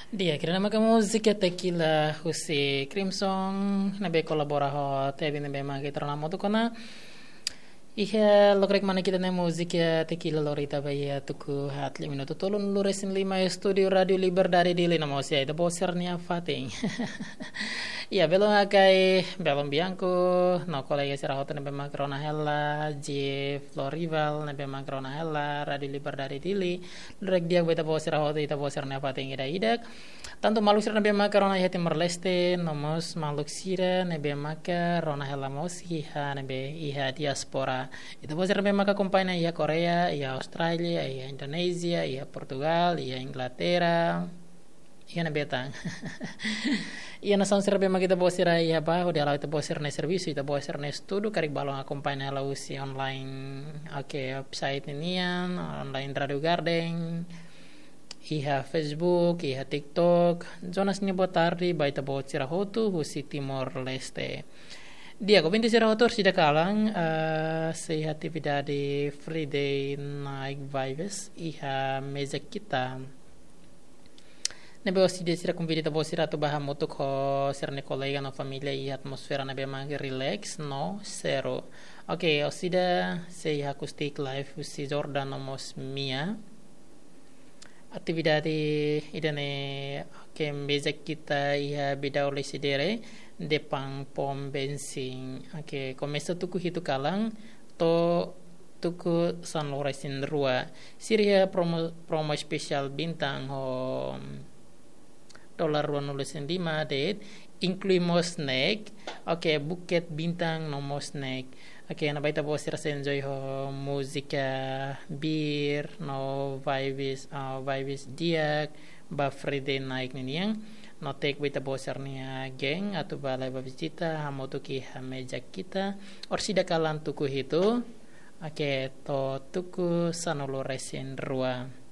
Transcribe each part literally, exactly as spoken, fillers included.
Di'ak, ida-ne'e maka múzika Tequila husi Crimson, ne'ebé kolabora ho Tebi, ne'ebé maka ita rona hamutuk ona. Iha lokraik mane ita-nia múzika Tequila lori ita ba iha tuku haat liu minutu tolunulu-resin-lima, estúdiu Rádiu Liberdade Dili, no mós iha ita-boot sira-nia fatin. Iha, belun hakai, belun Bianco, no kolega sira hotu ne'ebé maka rona hela, Jeff Florival, ne'ebé maka rona hela Rádiu Liberdade Dili, lokraik di'ak ba ita-boot sira hotu, ita-boot sira-nia fatin ida-idak. Tantu maluk sira ne'ebé maka rona iha Timor-Leste, no mós maluk sira ne'ebé maka rona hela mós iha ne'ebé iha diáspora. Ita-boot sira ne'ebé maka akompaña iha Koreia, iha Austrália, iha Indonézia, iha Portugal, iha Inglaterra, iha ne'ebé tan. Iha nasaun sira ne'ebé maka ita-boot sira iha ba, hodi hala'o ita-boot sira-nia servisu, ita-boot sira-nia estudu, karik balun akompaña hela husi online, oke, website nian, online Radio Garden, iha Facebook, iha TikTok. Jonas nia boa tarde ba ita-boot sira hotu husi Timor-Leste. Di'ak, ouvinte sira hotu, orsida kalan, eh, sei iha atividade Friday Night Vibes iha Meza Kita. Ne'ebé orsida sira konvida ita-boot sira atu bá hamutuk ho sira-nia kolega no família iha atmosfera ne'ebé mak relax no seru. Oke, orsida sei iha acoustic live husi Jordan no mós Mia. Atividade ida-ne'e, oke, Meza Kita iha Bidau Lecidere, depan Pom Bensin. Oke, komesa tuku hitu kalan to'o tuku sanulu-resin-rua. Sira iha promo, promo espesiál bintang ho dolar ruanulu-resin-lima de'it, inklui mós snack, oke, buket bintang no mós snack. Oke, ne'ebé ita-boot sira sei enjoy ho múzika, bir, no vibes, ah, vibes di'ak ba Friday night ninian. No take ba ita-boot sira-nia geng atu bá leba vizita hamutuk iha Meza Kita, orsida kalan tuku hitu, oke, to'o tuku sanulu-resin-rua.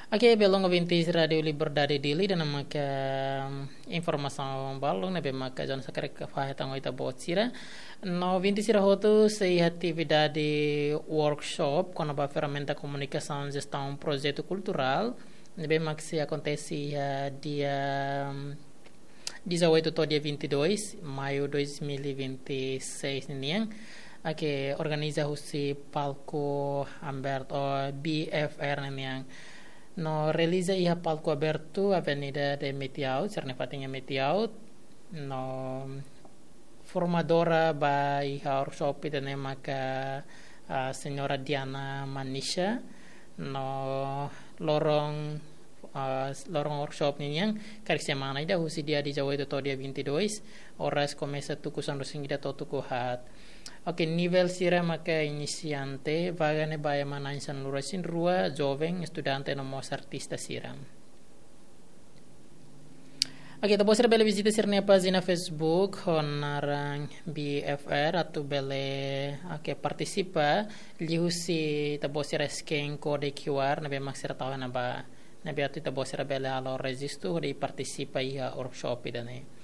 Oke, belun ouvinte Rádiu Liberdade Dili, ida-ne'e maka informasaun balun ne'ebé maka Jonas hakarak fahe tan ho ita-boot sira. No ouvinte sira hotu, sei iha atividade workshop kona-ba ferramenta komunikasaun jestaun projetu kulturál, ne'ebé mak sei akontese iha dia dezoito to'o dia vinte e dois maiu dois mil e vinte e seis ninian, oke, organiza husi palku abertu, ou B F R ninian. No realiza iha palku abertu Avenida de Metiaut, sira-nia fatin iha Metiaut. No formadora ba iha workshop ida-ne'e maka, ah, Señora Diana Manisha. No loron, ah, loron workshop ninian karik semana ida, husi dia dezoito to'o dia vinte e dois, oras komesa tuku sanulu-resin-ida to'o tuku haat. Oke, nivel sira maka inisiante, vaga ne'e ba ema na'in sanulu-resin-rua, joven, estudante no mós artista sira. Oke, ita-boot sira bele vizita sira-nia pájina Facebook ho naran B F R atu bele, oke, partisipa liuhusi ita-boot sira scan kode Q R ne'ebé mak sira tau iha ne'ebá. Ne'ebé atu ita-boot sira bele halo rejistu hodi partisipa iha workshop ida-ne'e.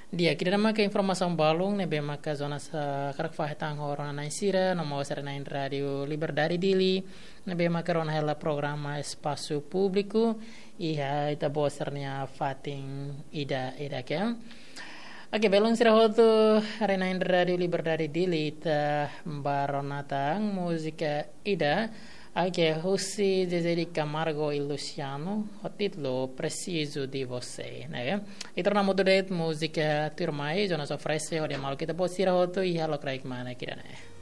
Di'ak, ida-ne'e maka informasaun balun ne'ebé maka Jonas hakarak fahe tan ho rona-na'in sira no mós sira-na'in Rádiu Liberdade Dili, ne'ebé maka rona hela programa Espasu Públiku iha ita-boot sira-nia fatin ida-idak. Oke, belun sira hotu, haree-na'in Rádiu Liberdade Dili, ita bá rona tan múzika ida, oke, husi Zezé de Camargo e Luciano, ho títulu Preciso de Você, ne'e. Ita rona hamutuk de'it múzika tuirmai, Jonas oferese hodi maluk ita-boot sira hotu iha lokraik mane ida-ne'e.